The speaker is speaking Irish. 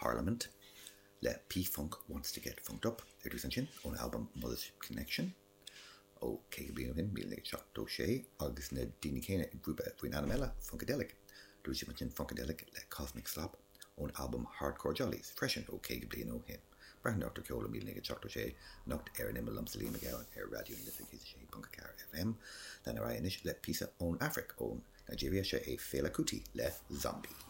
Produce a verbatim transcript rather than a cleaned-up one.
Parliament le P-Funk Wants to Get Funked Up ar dtús ansin ón albam Mothership Connection ó caoga bliain ó shin, míle naoi gcéad seachtó sé, agus na daoine céanna i ngrúpa faoin ainm eile, Funkadelic. Dúirt sibh ansin Funkadelic le Cosmic Slop ón albam Hardcore Jollies freisin ó caoga bliain ó shin. Breathnóir ceol ó míle naoi gcéad seachtó sé anocht ar an Imeall liomsa Liam Mac Gabhann ar Raidió na Life céad a sé ponc a ceathair F M. Lean ar aghaidh anois le píosa ón Afraic, ón Nigeria, seo é Fela Kuti le Zombie.